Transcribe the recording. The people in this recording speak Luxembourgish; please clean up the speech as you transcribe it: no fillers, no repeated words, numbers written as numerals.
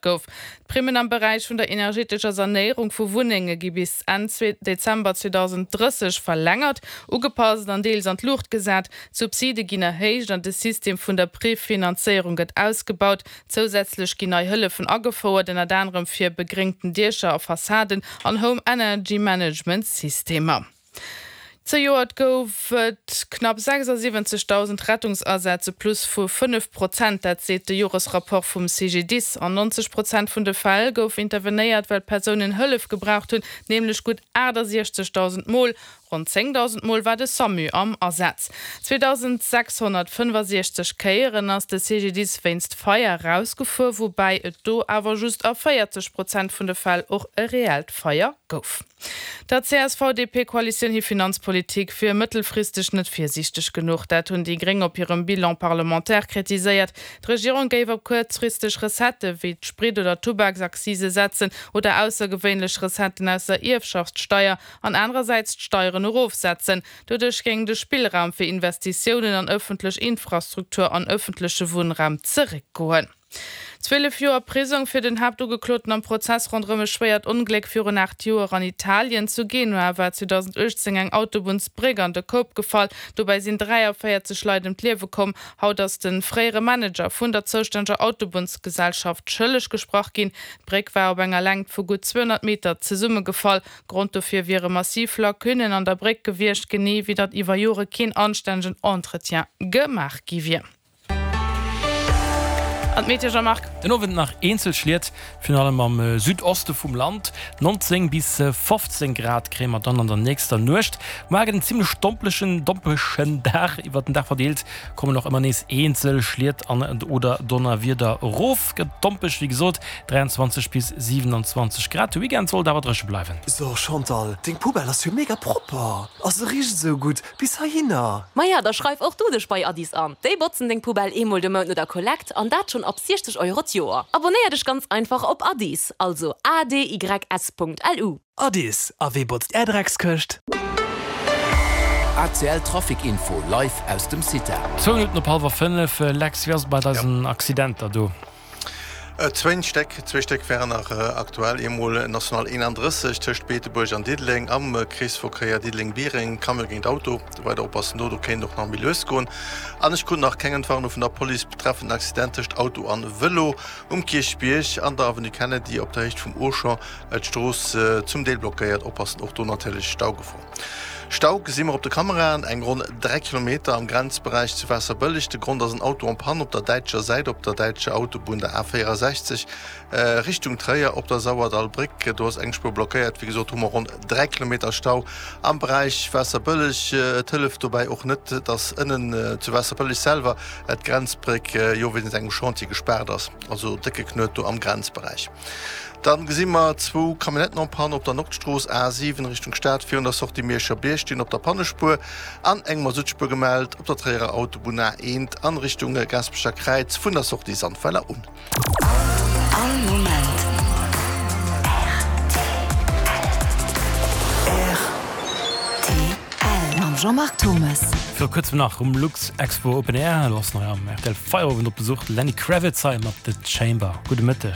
Gouf. D'Primmen am Beräich vun der energetescher Sanéierung vu Wunnenge gi bis Enn Dezember 2030 verlängert, ugepasst an deels an d'Luucht gesat. D'Subside ginn erhéicht an de System vun der Prefinanzéierung gëtt ausgebaut. Zousätzlech ginn nei Hëllefen agefouert, ënnert anerem fir begréngten Diecher a Fassaden an Home Energy Management Systemer. Zejoert gouf et knapp 76.000 Rettungsasätz, e Plus vu 5 Prozent. Dat seet de Joresrapport vum CGDIS. An 90 Prozent vun de Fäll gouf intervenéiert, well Persounen Hëllef gebraucht hunn, nämlech gutt 68.000 Mol. Ronn 10.000 Mol war de Samu am Asaz. 2.665 Kéieren ass de CGDIS wéinst Feier erausgefuer, woubäi et do awer just a 40 Prozent vun de Fäll och e reellt Feier gouf. Der CSV-DP-Koalitioun hir Finanzpolitik wier mëttelfristeg net virsiichteg genuch. Dat hunn déi Gréng op hirem Bilan parlementaire kritiséiert. D'Regierung géif op kuerzfristeg Recettë wéi d'Sprit oder Tubaksaccise setzen oder aussergewéinlech Recetten aus der Ierfschaftssteier an anerersäits d'Steieren erofsetzen. Doduerch géing de Spillraum fir Investitiounen an ëffentlech Infrastruktur an ëffentleche Wunnraum zeréckgoen. 12 Joer Prisong fir den Haaptugekloten am Prozess ronderëm e schwéiert Ongléck virun 8 Joer an Italien. Zu Genua war 2018 eng Autobunnsbréck an de Koup gefall. Dobäi sinn 43 Leit ëm d'Liewe komm. Haut ass de fréiere Manager vun der zoustänneger Autobunnsgesellschaft schëlleg gesprach ginn. D'Bréck war op enger Längt vu gutt 200 Meter zesummegefall. Grond dofir wiere massiv Lacunnen an der Bréck gewiescht, genee wéi datt iwwer Jore keen anstännegen Entretien gemaach gi wier. An d'Meteo, Jean-Marc? Den Owend nach eenzel Schliet, virun allem am Südoste vum Land. 19 bis 15 Grad kréie mer dann an der nächster Nuecht. Muar gëtt en zimmlech domplechen, dompeschen Dag. Iwwert den Dag verdeelt kommen och ëmmer nees eenzel Schliet an oder Donnerwieder erof. Gëtt dompeg, wéi gesot 23 bis 27 Grad. De Weekend sollt awer dréche bleiwen. So Chantal, deng Poubelle ass jo mega propper a se richt esou gutt. Bis heihinner! Maja, da schreif och du dech bei Addis an. Déi botzen deng Poubelle eemol de Mount no der Kollekt an dat schonn ab 60 Euro d'Joer. Abonnéier dech ganz einfach op Addis, also adys.lu. Addis, a wee botzt är Dreckskëscht? ACL Trafic Info live aus dem CITA. Zwou Minutten op hallwer 5, Lex, wéi ass et bei eisen Accidenter do? Zwéin Stéck, zwee Stéck wären nach aktuell, eemol National 31 tëscht Beetebuerg an Diddeleng am Kreesverkéier Diddeleng-Biereng, Camion géint Auto, weider oppassen do, do kéint och nach méi lues goen. An ech krut nach keng Entwarnung vun der Police betreffend den Accident tëscht Auto an Vëlo um Kierchbierg an der Avenue Kennedy op der Héicht vum Auchan, d'Strooss zum Deel blockéiert, oppassen och do natierlech, Staugefor. Stau gesi mer op de Kameraen, eng ronn 3 Kilometer am Grenzberäich zu Waasserbëlleg. De Grond ass en Auto en panne op der däitscher Säit op der däitscher Autobunn, der A64, Richtung Tréier op der Sauerdallbréck. Do ass eng Spuer blockéiert. Wéi gesot hu mer ronn 3 Kilometer Stau am Beräich Waasserbëlleg. Et hëlleft dobäi och net, dass ënnen zu Waasserbëlleg selwer d'Grenzbréck jo wéinst engem Chantier gespaart ass. Also décke Knuet do am Grenzberäich. Dann gesi mer zwou Camionnetten en panne op der Nordstrooss A7 Richtung Stad virun der Sortie Mierscher Bierg stinn op der Pannespuer an eng Masuttspuer gemellt op der Tréierer Autobunn A1 an Richtung Gaasperecher Kräiz vun der Sortie Sandweiler un. All Moment rtl. Mam Jean-Marc Thomes. Viru kuerzem nach um Luxexpo Open Air, elo ass nach am rtl Feierowend op Besuch, de Lenny Kravitz hei mat The Chamber. Gudde Mëtteg.